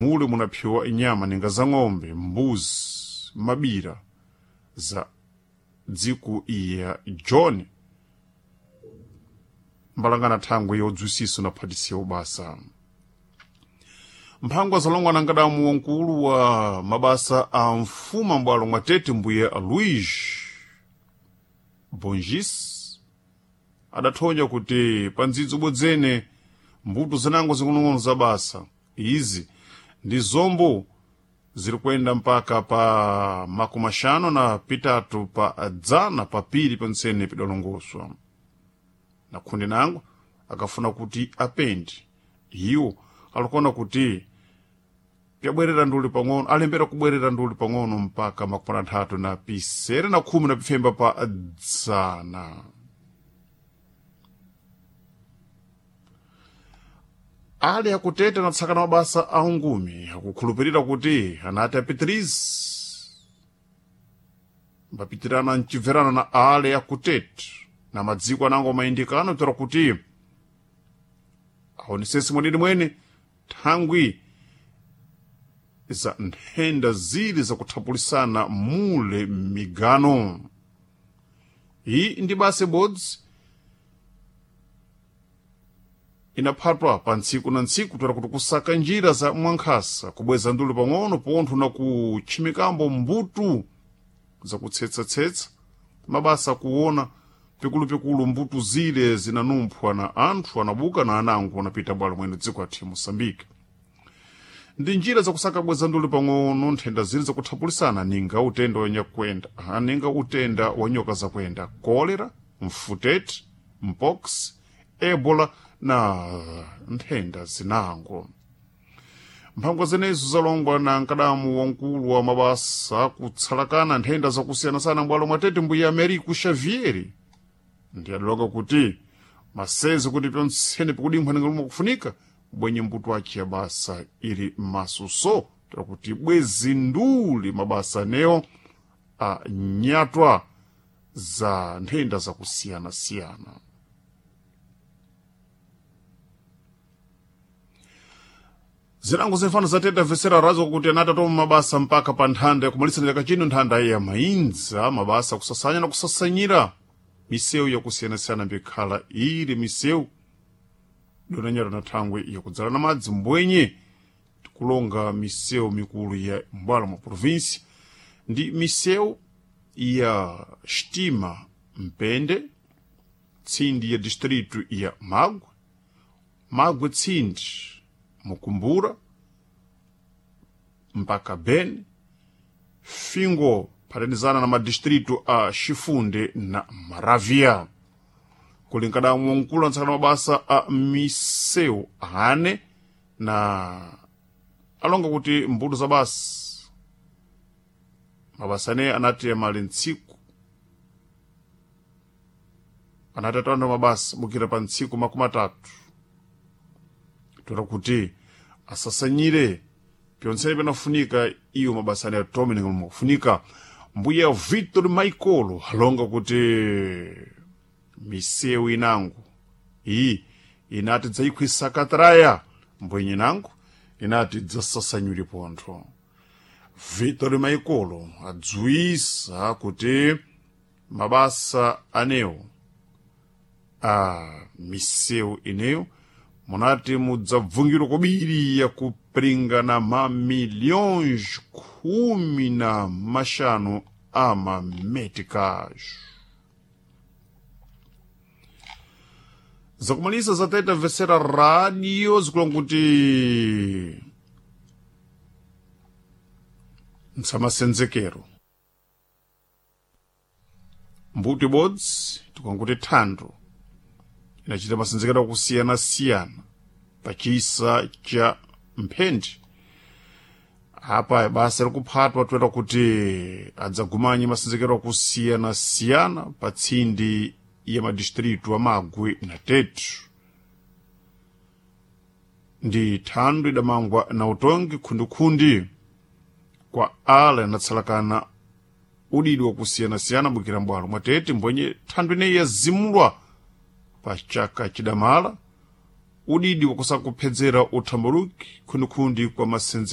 Mule munaphiwa inyama ninga za ng'ombe, mbuzi, mabira za dziko iya John mbalangana thangwe yodzwisiso na phatisiya ubasa. Mphangwa zalongwa na nkadamu wankulu wa mabasa a mfuma mbwalo mwa Tete mbuye Luís Bongis adathonya kuti pa ndzidzo bodzene mbuto zinango zing'onong'ono za basa izi ndi zombo ziri kuyenda mpaka pa 53 pa dzana pa pili pentsene pidalongoswa. Na khundi nango akafuna kuti apende iwo alikuona kuti pyabwerera nduli pang'ono alembera kubwerera nduli pang'ono mpaka 36 na pa dzana. Ali akuteta na tsakana mabasa a ungumi akukhulupirira kuti anati apitirize mbapitirana mcibverano na ale akuteta na madziko anango mayindikano toera kuti aonesese mwenene mwene thangwi za nthenda zili zakuthapulisana mule m'migano. Iyi ndi basa ibodzi inaphatwa pa ntsiku na ntsiku toera kuti kusaka njira za mwankhasa kubweza nduli pang'ono pontho na kutchimikambo mbuto zakutsetsa-tsetsa mabasa kuona pikulupikulu mbuto zile zinanumphwa na anthu anabuka na anango anapita bwalo mwene dziko athu ya Moçambique. Ndi njira zakusaka bweza nduli pang'ono nthenda zili zakuthapulisana ninga utenda wa nyakwenda ninga utenda wa nyoka zakwenda kolera, mfutete, mpox, ebola na nthenda zinango. Mphangwa zenezo zalongwa na nkadamu wankulu wa mabasa kutsalakana nthenda zakusiyanasiyana mbwalo mwa Tete mbuya Americo Xavier ndi adalonga kuti maseze kuti pyontsene pikudimphwa ninga kufunika bwenye mbuto aci ya basa ili masuso toera kuti bwezi nduli mabasa anewo anyatwa za nthenda zakusiyanasiyana. Zinango zimfano zateta vesera razo kuti anati mabasa mpaka pa nthanda yakumalisana chaka chino nthanda ya mainza mabasa kusasanya na kusasanyira misewu yakusiyanasiyana mbikhala ili misewu donanyata na thangwe yakudzala na madzi mbwenye tikulonga misewu mikulu ya mbwalo mwa provinsi ndi misewu ya Xtima Mpende tsindi ya distrito ya Magwe, Magwe tsindi Mukumbura mpaka Beni, Fingo phatanizana na madistrito a Xifunde na Maravia. Kulinkana mwankulu antsakana mabasa a misewu ane na alonga kuti mbuto za basa mabasa ane anati amali ntsiku anati atanda mabasa bukira pa ntsiku 30 toera kuti asasanyire pyontsene panafunika iyo mabasa ane atome ninga makufunika. Mbuya Victor Michael alonga kuti misewu inango iyi inati dzayikhwisa katraya mbwenye inango inati dzasasanyuri pontho. Victor Michael adziwisa kuti mabasa anewo a misewu ineyo munati mudzabvungirwa kobiri yakupiringana mamilhões 15 a mameticais. Zakumalisa zateta vesera radio zikulonga kuti ntsamasenzekero mbuto ibodzi tikanguti thando inachita masenzekero akusiyana-siyana pachisa cha mphendi. Apa basa likuphatwa toera kuti adzagumanye masenzekero akusiyana-siyana pa tsindi ya madistritu a Magwe na Tete. Ndi thando idamangwa na utongi khundikhundi kwa ala inatsalakana udidi wakusiyana-siyana bukira mbwalo mwa Tete mbwenye thando ineyi yazimulwa pa chaka chidamala udidi wakusakuphedzera uthambaluki khundikhundi kwa masenze.